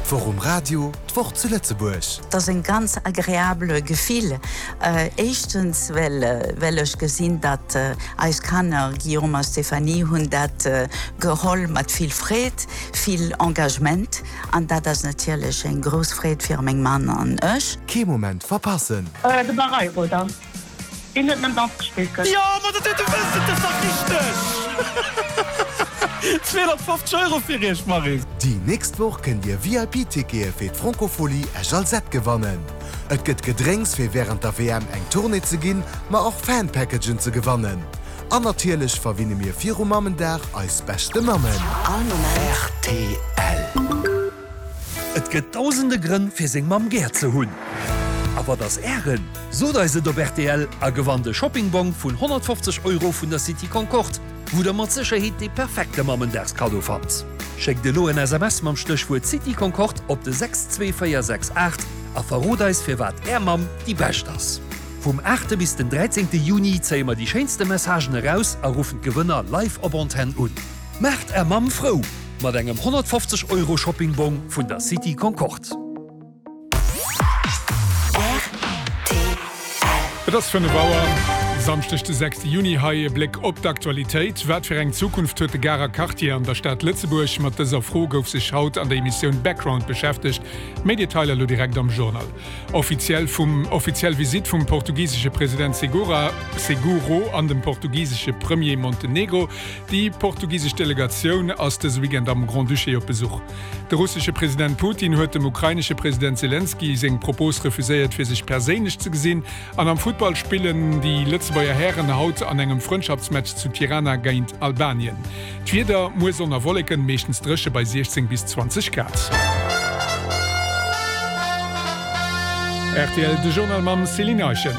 D'Woch um Radio, d'Woch zu Lëtzebuerg. Et ass en ganz agreabele Gefill. Éischtens well well ech gesinn, datt eis Kanner, Guillaume a Stéphanie, hunn dat geholl mat vill Freed, vill Engagement an dat ass natierlech eng grouss Freed fir meng Mann an ech. Kee Moment verpassen! De Barreiro dann. Deen huet nëmmen Danz gespillt gëtt. Jo, ma dat huet de wësst et, dat ass dach richteg! 250 Euro fir iech, Maryse! Déi nächst Woch kënnt Dir VIP-Tickete fir d'Francophonie Esch-Alzette gewannen. Et gëtt Gedrénks fir wärend der WM eng Tournée ze ginn, ma och Fan-Packagen ze gewannen. An natierlech verwinne mir viru Mammendag eis beschte Mammen. All Moment. Rtl. Et gëtt dausende Grënn fir seng Mamm gär ze hunn. A wat ass Ären? Sot eis et op rtl a gewannt e Shoppingbong vun 150 Euro vun der City Concorde, wou der mat Sécherheet dee perfekte Mammendagskaddo fannt. Schéckt elo en SMS mam Stéchwuert City Concorde op de 62468 a verrot eis firwat Är Mamm déi bescht ass. Vum 8 bis den 13 Juni zéie mer déi schéinste Messagen eraus a ruffen d'Gewënner live op Antenn un. Maacht Är Mamm frou mat engem 150 Euro Shoppingbong vun der City Concorde. Et ass 5 Auer, Samschdeg de 6 Juni. Hei e Bléck op d'Aktualitéit. Wat fir eng Zukunft huet de Garer Quartier an der Stad Lëtzebuerg? Mat dëser Fro gouf sech haut an der Emissioun Background beschäftegt. Méi Detailer elo direkt am Journal. Offiziell vum offiziell Visitt vum portugisesche President Segura Seguro an dem portugisesche Premier Montenegro. Déi portugisesch Delegatioun ass dëse Weekend am Grand-Duché op Besuch. De russesche President Putin huet dem ukrainesche President Selenskyj seng Propos refuséiert, fir sech perséinlech ze gesinn. An am Futtball spillen déi Lëtzebuerger Hären haut an engem Frëndschaftsmatch zu Tirana géint Albanien. D'Wieder, Muer Sonn a Wolleken, meeschtens dréche bei 16 bis 20 Grad. Rtl, De Journal mam Céline Eischen.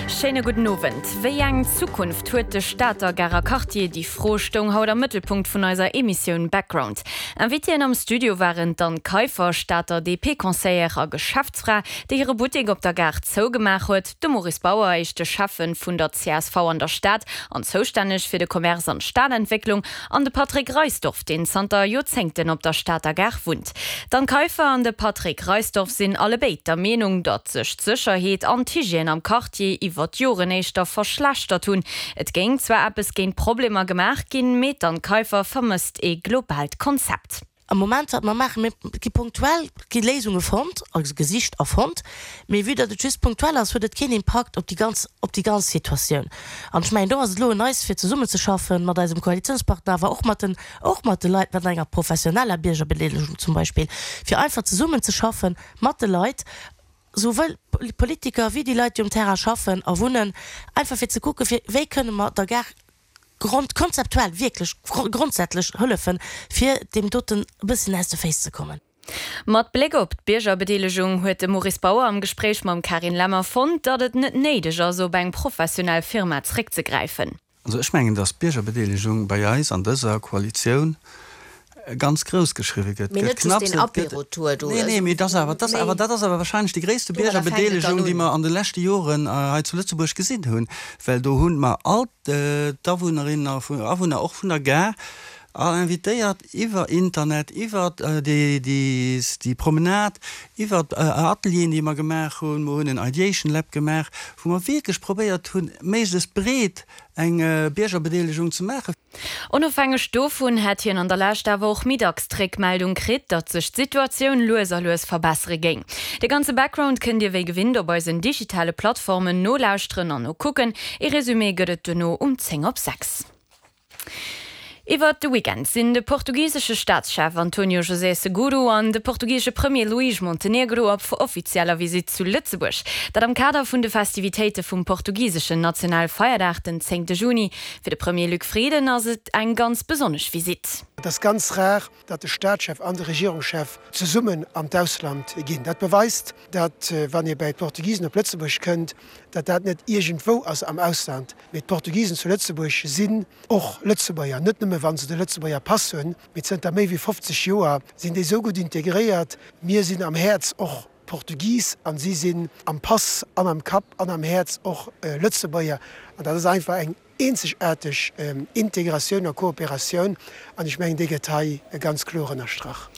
Schéine gudden Owend. Wéi eng Zukunft huet de Stater Garer Quartier? Déi Fro stoung haut am Mëttelpunkt vun eiser Emissioun Background. Invitéen am Studio waren d'Anne Kaiffer, Stater DP-Conseillère a Geschäftsfra, déi hire Buttek op der Gare zougemaach huet, de Maurice Bauer, éischte Schäffen vun der csv an der Stad an zoustänneg fir de Commerce an d'Stadentwécklung, an de Patrick Reisdorff, deen zanter Joerzéngten op der Stater Gare wunnt. D'Anne Kaiffer an de Patrick Reisdorff sinn allebéid der Meenung, datt sech d'Sécherheet an d'Hygiène am Quartier iwwer d'Joren éischter verschlechtert hunn. Et géing zwar eppes géint d'Problemer gemaach ginn, mee d'Anne Kaiffer vermësst ee globaalt Konzept. Am Moment, wat mer maachen, mir gi punktuell gi Léisunge fonnt, also gesicht a fonnt, mee vue datt et just punktuell ass, huet et keen Impakt op déi ganz, op déi ganz Situatioun. An ech mengen, do ass et elo un eis, fir zesummenzeschaffen mat eisem Koalitionspartner, awer och mat den, och mat de Leit, mat enger professioneller Biergerbedeelegung zum Beispill, fir einfach zesummenzeschaffen mat de Leit, souwuel d'Politiker wéi déi Leit, déi um Terrain schaffen a wunnen, einfach fir ze kucken, fir wéi kënne mer der Gare grond, konzeptuell, wierklech grondsätzlech hëllefen, fir deem doten e bësschen aus de Féiss ze kommen. Mat Bléck op d'Biergerbedeelegung huet de Maurice Bauer am Gespréich mam Carine Lemmer fonnt, datt et net néideg ass, op eng professionell Firma zréckzegräifen. Also ech mengen, datt d'Biergerbedeelegung bei eis an dëser Koalitioun ganz grouss geschriwwe gëtt. Mee net just deen Apéro-Tour do. Nee, nee, mee dat ass awer, dat ass awer, dat ass awer wahrscheinlech déi gréisste Biergerbedeelegung, déi mer an de leschte Joren hei zu Lëtzebuerg gesinn hunn, well do hu mer all d'Awunnerinnen a Awunner och vun der Gare all invitéiert iwwer Internet, iwwer déi Promenade, iwwer Atelieren, déi mer gemaach hunn. Mer hunn en Ideation Lab gemaach, wou mer wierklech probéiert hunn, méiglechst breet eng Biergerbedeelegung ze maachen. Onofhängeg dovun hätt hien an der Lescht awer och méi dacks d'Réckmeldung kritt, datt sech d'Situatioun lues a lues verbessere géing. De ganze Background kënnt Dir wéi gewinnt op eisen digitale Plattformen nolauschteren an nokucken. Ee Resumé gëtt et duerno um 10 op 6. Iwwert de Weekend sinn de portugisesche Staatschef Antonio José Seguro an de portugisesche Premier Luís Montenegro op offizieller Visitt zu Lëtzebuerg. Dat am Kader vun de Festivitéite vum portugiseschen Nationalfeierdag den 10 Juni. Fir de Premier Luc Frieden ass et eng ganz besonnesch Visitt. Et ass ganz rar, datt de Staatschef an de Regierungschef zesummen an d'Ausland ginn. Dat beweist, datt wann ee bäi d'Portugisen op Lëtzebuerg kënnt, datt dat net iergendwou ass am Ausland, mee d'Portugisen zu Lëtzebuerg sinn och Lëtzebuerger, net nëmme wa se de Lëtzebuerger Pass hunn, mee zënter méi wéi 50 Joer sinn déi esou gutt integréiert. Mir sinn am Häerz och Portugis an si sinn am Pass an am Kapp an am Häerz och Lëtzebuerger. An dat ass einfach eng eenzegaarteg Integratioun a Kooperatioun an ech mengen, déi gëtt hei ganz kloer ënnerstrach.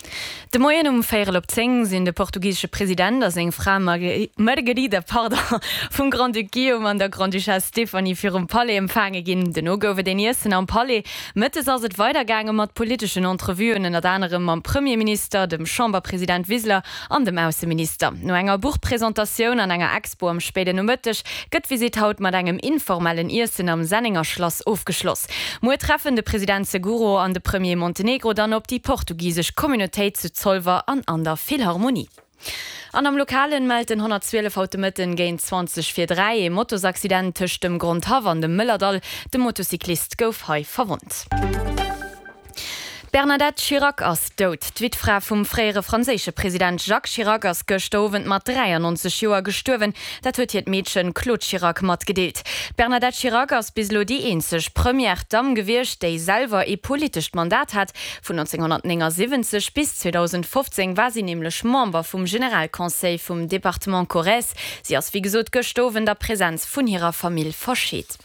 De Moien um véierel op 10 sinn de portugisesche President a seng Fra Margarida pardon, vum Grand-Duc Guillaume an der Grande-Duchesse Stéphanie virum Palais empfaange ginn. Dono gouf et een Iessen am Palais. Mëttes ass et weidergaange mat politeschen Entrevuen, ënnert anerem mam Premierminister, dem Chamberpresident Wiseler an dem Ausseminister. No enger Buchpresentatioun an enger Expo am spéiden Nomëtteg gëtt d'Visitt haut mat engem informellen Iessen am Sennenger Schlass ofgeschloss. Muer treffen de President Seguro an de Premier Montenegro dann op déi portugisesch Communautéit zu Zolwer an an der Philharmonie. An am Lokalen mellt den 112 haut de Mëtten géint 20 vir 3 ee Motosaccident tëscht dem Grondhaff an dem Mëllerdall. De Motocyclist gouf hei verwonnt. D'Bernadette Chirac ass dout. D'Wittfra vum fréiere franséische President Jacques Chirac ass gëschter Owend mat 93 Joer gestuerwen. Dat huet hiert Meedchen Claude Chirac matgedeelt. D'Bernadette Chirac ass bis elo déi eenzeg Première Dame gewiescht, déi selwer ee politescht Mandat hat. Vun 1979 bis 2015 war si nämlech Member vum Generalconseil vum Departement Corrèze. Si ass wéi gesot gëschter Owend a Presenz vun hirer Famill verscheet.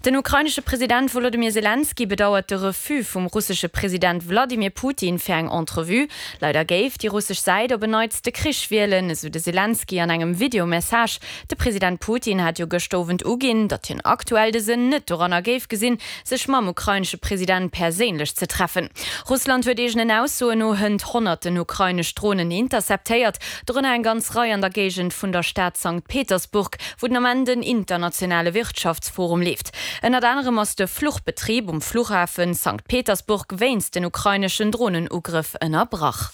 Den ukrainesche President Wolodymyr Selenskyj bedauert de Refus vum russesche President Wladimir Putin fir eng Entrevue. Leider géif déi russesch Säit op en Neits de Krich wielen, esou de Selenskyj an engem Video-Message. De President Putin hat jo gëschter Owend uginn, datt hien aktuell de Sënn net doranner géif gesinn, sech mam ukrainesche President perséinlech ze treffen. Russland huet eegenen Aussoen no hënt honnerten ukrainesch Dronen interceptéiert, dorënner eng ganz Rei an der Géigend vun der Stad Sankt Petersburg, wou den Ament en internationale Wirtschaftsforum leeft. Ënnert anerem ass de Fluchbetrib um Fluchhafe Sankt Petersburg wéinst den ukraineschen Dronenugrëff ënnerbrach.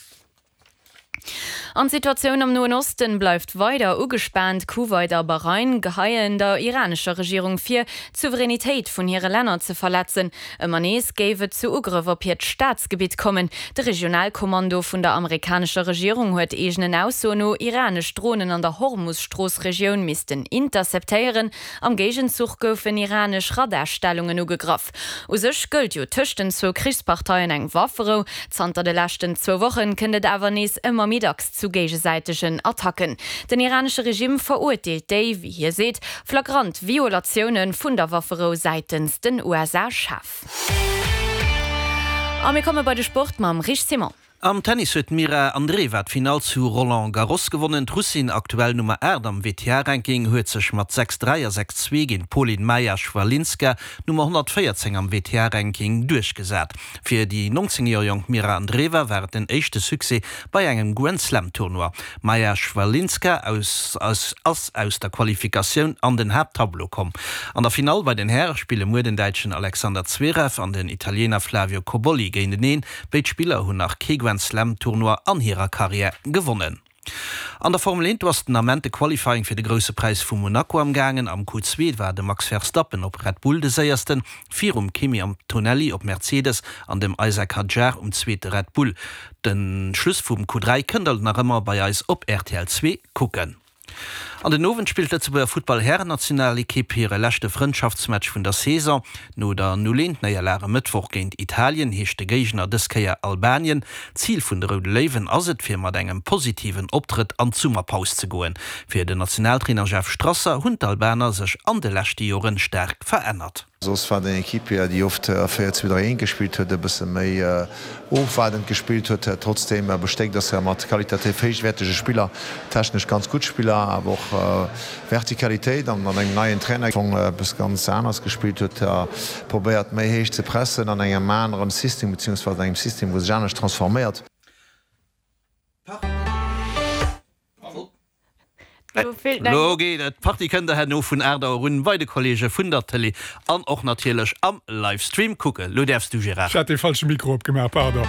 An d'Situatioun am Noen Osten bleift weider ugespaant. Kuwait a Bahrain geheien der iranescher Regierung vir, d'Souveränitéit vun hire Länner ze verletzen. Ëmmer nees géif et zu Ugrëff op hiert Staatsgebitt kommen. De Regionalkommando vun der amerikanescher Regierung huet eegenen Aussoen no iranesch Dronen an der Hormus-Strooss-Regioun missten interceptéieren. Am Géigenzuch goufen iranesch Radarstellungen ugegraff. U sech gëllt jo tëscht den zwou Krichsparteien eng Wafferou. Zanter de leschten zwou Wochen kënnt et awer nees ëmmer méi dacks zu géigesäitegen Attacken. Den iranesche Regimm verurteelt déi, wéi hie seet, flagrant Violatioune vun der Wafferou säitens den USA schaarf. A mir komme bei de Sport mam Rich Simon. Am Tennis huet d'Mira Andreeva d'Finall zu Roland Garros gewonnen. D'Russin, aktuell Nummer 8 am WTA-Ranking, huet sech mat 6, 3 a 6, 2 géint d'Polin Maja Chwalinska, Nummer 114 am WTA-Ranking, duerchgesat. Fir déi 19 Joer jonk Mira Andreeva war et den éischte Succès bei engem Grand-Slam-Tournoi. D'Maja Chwalinska aus ass aus der Qualifikatioun an den Haapttableau komm. An der Finall bei den Häre spille muer den Däitschen Alexander Zverev an den Italiener Flavio Cobolli géinteneen. Béid Spiller hunn nach kee Grand-Slam-Tournoi an hirer Karriär gewonnen. An der Formel 1, do ass den Ament de Qualifying fir de Grousse Präis vu Monaco am gaangen. Am Q2 war de Max Verstappen op Red Bull de séiersten, virum Kimi Antonelli op Mercedes an dem Isack Hadjar um zweete Red Bull. De Schluss vum Q3 kënnt der nach ëmmer bei eis op rtl 2 kucken. An den Owend spillt d'Lëtzebuerger Futtball-Härennationalekipp hire leschte Frëndschaftsmatch vun der Saison. No der 0, 1 Néierlag e Mëttwoch géint Italien heescht de Géigner dës Kéier Albanien. Zil vun de Roude Léiwen ass et, fir mat engem positiven Optrëtt an d'Summerpaus ze goen. Fir den Nationaltrainer Jeff Strasser hunn d'Albaner sech an de leschte Jore staark verännert. Soss war et eng Equipe, déi oft a 4, 2, 3, 1 gespillt huet, e bësse méi ofwaardend gespillt huet, trotzdeem bestéckt ass mat qualitativ héichwäertege Spiller, technesch ganz gutt Spiller, awer och Vertikalitéit an mat engem neien Trainer, dee eppes ganz aneres gespillt huet, probéiert méi héich ze pressen an engem aneren System, beziehungsweise an engem System, wou sech anescht transforméiert. Lo geet et! D'Partie kënnt der herno vun 8 Auer un bei de Kollege vun der Tëlee an och natierlech am Livestream kucken. Lo däerfs du, Gérard. Ech hat dee falsche Mikro opgemaach, pardon.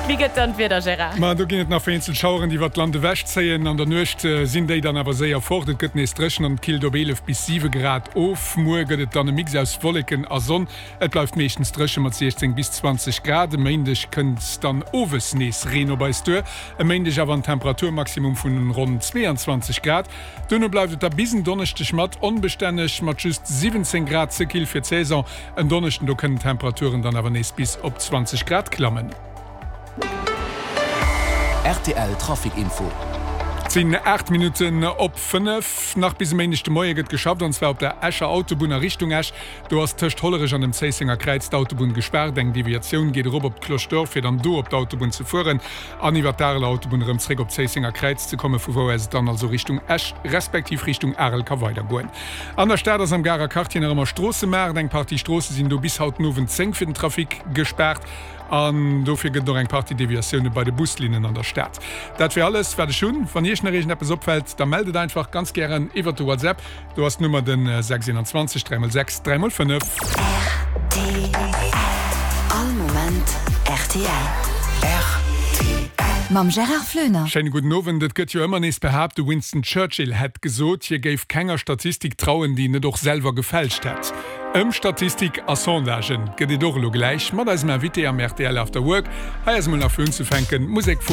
Wéi gëtt dann d'Wieder, Gérard? Ma do ginn et nach vereenzelt Schaueren, déi iwwert d'Land ewech zéien. An der Nuecht sinn déi dann awer séier fort. Et gëtt nees dréchen an et killt op 11 bis 7 Grad of. Muer gëtt et dann e Mix aus Wolleken a Sonn. Et bleift meeschtens dréche mat 16 bis 20 Grad. E Méindeg kënnt dann owes nees Reen op eis duer. E Méindeg awer en Temperaturmaximum vun ronn 22 Grad. Duerno bleift et da bis en Donneschdeg mat onbestänneg mat just 17 Grad ze kill fir d'Saison. En Donneschden do kënnen d'Temperaturen dann awer nees bis op 20 Grad klammen. Rtl Trafic Info. sinn 8 Minutten op 5. Nach bis e Méindeg de Moie gëtt geschafft, an zwar op der Escher Autobunn a Richtung Esch. Do ass tëscht Hollerech an dem Zéissenger Kräiz d'Autobunn gespaart. Eng Deviatioun geet erop op d'Cloche d'Or, fir dann do op d'Autobunn ze fueren an iwwer d'Areler Autobunn erëm zréck op d'Zéissenger Kräiz ze kommen, vu wou aus et dann also Richtung Esch respektiv Richtung Arel ka weidergoen. An der Stad ass am Garer Quartier nach ëmmer Stroossemaart. Eng Partie Stroosse sinn do bis haut den Owend 10 fir den Trafic gespaart an dofir gëtt et och eng Partie Deviatioune bei de Buslinnen an der Stad. Dat wär alles wat ech hunn. Wann Iech nach iergendeppes opfält, da mellt et einfach ganz gären iwwert de WhatsApp. Do ass d'Nummer den 621 3 x 6 3 x 5. Rtl. All Moment rtl. Rtl. Mam Gérard Floener. Schéine gudden Owend. Et gëtt jo ëmmer nees behaapt, de Winston Churchill hätt gesot, hie géif kenger Statistik trauen, déi en net och selwer gefälscht hätt. Ëm Statistik a Sondagen gëtt et och elo gläich mat eisem Invité am rtl After Work. Hei ass emol nach fir unzefänken d'Musek vu.